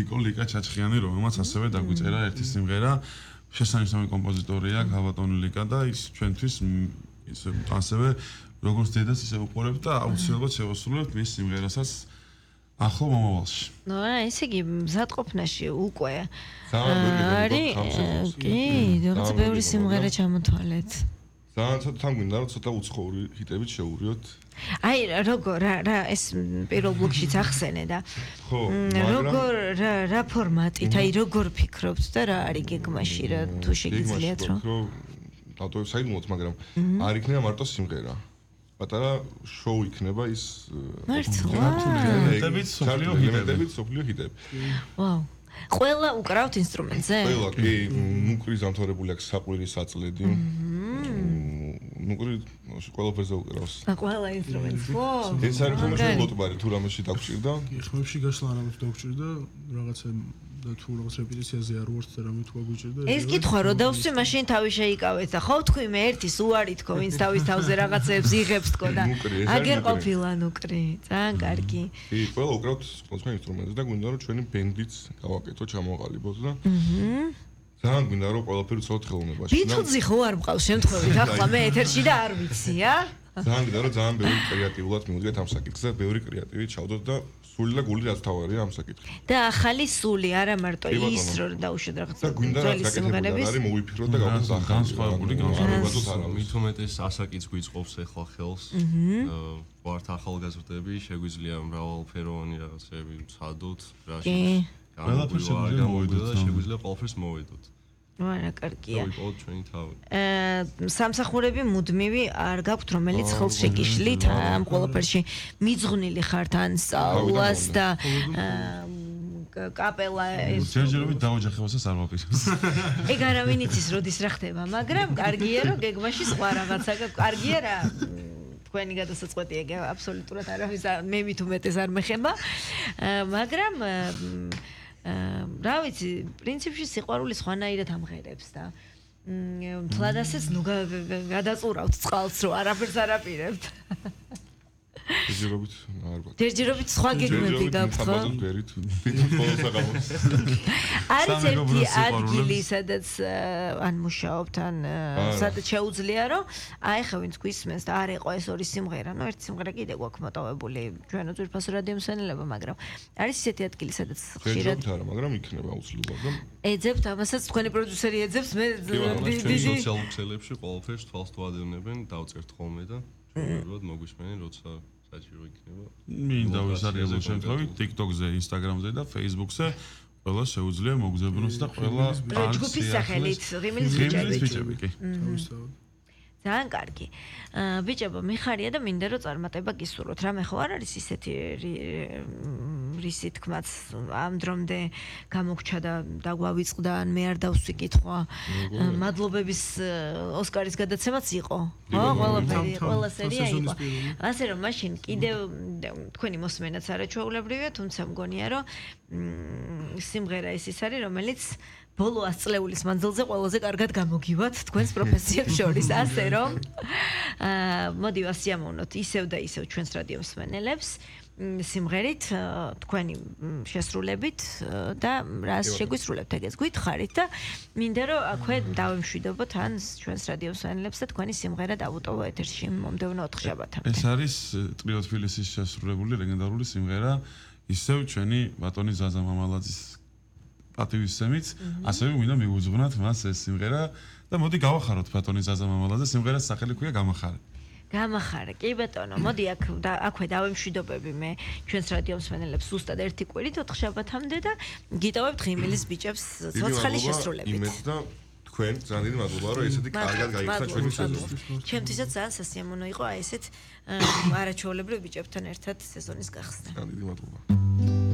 მედიკო ლიკა ჩაჩხიანი, რომელმაც ასევე დაგვიწერა ერთი სიმღერა. შესანიშნავი კომპოზიტორია გაბატონი ლიკა და ის ჩვენთვის ის ასევე როგორც დედას ისე უყურებთ და აუცილებლად შევასრულებთ მის სიმღერასაც ახლო მომავალში. ნუ ესე იგი მზადყოფნაში უკვე არის კი, რაღაც ბევრი სიმღერა ჩამოთვალეთ. ძალიან თან გვინდა რომ ცოტა უცხოური ჰიტებით შევურიოთ. აი როგორ რა ეს პირველ ბლოკშიც ახსენე და ხო, როგორ რა ფორმატით, აი როგორ ფიქრობთ და რა არის გეგმაში რა თუ შეგიძლიათ რომ დატოვებ საიდუმლოდ, მაგრამ არ იქნება მარტო სიმღერა. პატარა შოუ იქნება ის ელემენტებით სოფლიო ჰიტები. ვაუ. ყველა უკრავთ ინსტრუმენტზე? ყველა კი, ნუკრი ზამთრებული აქვს საყვირი საწლედი. ნუკრი ყველაფერზე უკრავს. ყველა ინსტრუმენტს ხო? ეს არის ხოლმე ლოტბარი თუ რამეში დაგჭირდა? ხმებში გასვლა არამედ დაგჭირდა, რაღაცა და თუ რაღაც რეპეტიციაზე არ ვართ და რამე თუ გაგვიჭირდა. ეს კითხვა რო დავსვი, მაშინ თავი შეიკავეთ და ხო თქვი მე ერთი სუარი თქო, ვინც თავის თავზე რაღაცებს იღებს თქო და აგერ ყოფილა ნუკრი. ძალიან კარგი. კი, ყველა უკრავთ სხვადასხვა ინსტრუმენტზე და გვინდა რომ ჩვენი ბენდიც გავაკეთო, ჩამოყალიბოთ და ძალიან გვინდა რომ ყველაფერი ცოტ ხელოვნებაში. ბიტლზი ხო არ მყავს შემთხვევით ახლა მე ეთერში და არ ვიცი, ძალიან გვინდა რომ ძალიან ბევრი კრეატიულად მივუდგეთ ამ საკითხზე, ბევრი კრეატივი ჩავდოთ და სული და გული რაც თავარია ამ საკითხში. და ახალი სული, არა მარტო ის რომ დაუშვათ რაღაცა. და გვინდა რაც გაკეთებულა არის მოვიფიქროთ და გავხსნათ განსხვავებული მით უმეტეს ასაკიც გვიწყობს ახლა ხელს. ვართ ახალგაზრდები, შეგვიძლია მრავალფეროვანი რაღაცები ვცადოთ, რაში ყველაფერს შეგვიძლია ყველაფერს მოვედოთ. არა, კარგია. დავიწყოთ ჩვენი თავი. სამსახურები მუდმივი არ გაქვთ, რომელიც ხელს შეკიშლით ამ ყველაფერში მიძღვნილი ხართ ან სწავლას და კაპელა ეს ჯერჯერობით დაოჯახებასაც არ ვაპირებს. ეგ არავინ იცის როდის რა ხდება, მაგრამ კარგია რომ გეგმაში სხვა რაღაცა კარგია რა. თქვენი გადასაწყვეტი ეგ აბსოლუტურად არავის მე მით უმეტეს არ მეხება, მაგრამ რა ვიცი, პრინციპში სიყვარული სხვანაირად ამღერებს და თლადასეც ნუ გადაწურავთ წყალს რომ არაფერს არ აპირებთ. ჯერჯერობით არ ვარ. ჯერჯერობით სხვა გეგმები გაქვთ ხო? არის ერთი ადგილი, სადაც ან მუშაობთ, ან სადაც შეუძლია რომ აი ხა ვინც გვისმენს და არ იყო ეს ორი სიმღერა, ნუ ერთი სიმღერა კიდე გვაქვს მოტოვებული ჩვენო ძვირფასო რადიო მსმენელებმა, მაგრამ არის ისეთი ადგილი, სადაც ხშირად არა, მაგრამ იქნება აუცილებლად და ეძებთ ამასაც თქვენი პროდიუსერი ეძებს მე დიდი სოციალურ ქსელებში ყველაფერს თვალს თვალადევნებენ, დავწერთ ხოლმე და უბრალოდ მოგვისმენენ, როცა საჭირო იქნება. მინდა ვისარგებლო შემთხვევით TikTok-ზე, Instagram-ზე და Facebook-ზე ყველა შეუძლია მოგზაურნოს და ყველა ჯგუფის სახელით ღიმილის ბიჭები კი. ძალიან კარგი. ბიჭებო, მიხარია და მინდა რომ წარმატება გისურვოთ. რამე ხო არ არის ისეთი რისი თქმაც ამ დრომდე გამოგჩა და დაგვავიწყდა ან მე არ დავსვი კითხვა. მადლობების ოსკარის გადაცემაც იყო. ხო, ყველაფერი, ყველა სერია იყო. ასე რომ მაშინ კიდევ თქვენი მოსმენაც არაჩვეულებრივია, თუმცა მგონია რომ სიმღერა ის არის, რომელიც ბოლო 100 წლეულის მანძილზე ყველაზე კარგად გამოგივათ თქვენს პროფესიებს შორის, ასე რომ მოდი ვასიამოვნოთ ისევ და ისევ ჩვენს რადიო მსმენელებს სიმღერით, თქვენი შესრულებით და რას შეგვისრულებთ ეგეც გითხარით და მინდა რომ აქვე დავემშვიდობოთ ან ჩვენს რადიო მსმენელებს და თქვენი სიმღერა დავუტოვო ეთერში მომდევნო 4 შაბათამდე. ეს არის ტრიო თბილისის შესრულებული ლეგენდარული სიმღერა, ისევ ჩვენი ბატონი ზაზა მამალაძის პატივისცემით, ასევე მინდა მივუძღვნათ მას ეს სიმღერა და მოდი გავახაროთ ბატონი ზაზა მამალაძე, სიმღერას სახელი ქვია გამახარე. გამახარე, კი ბატონო, მოდი აქვე დავემშვიდობები მე ჩვენს რადიო მსმენელებს ზუსტად ერთი კვირით 4 შაბათამდე და გიტოვებთ ღიმილის ბიჭებს ცოცხალი შესრულებით. იმეც და თქვენ ძალიან დიდი მადლობა რომ ესეთი კარგად გაიხსნა ჩვენი სეზონი. ჩემთვისაც ძალიან სასიამოვნო იყო აი ესეთ არაჩვეულებრივ ბიჭებთან ერთად სეზონის გახსნა. ძალიან დიდი მადლობა.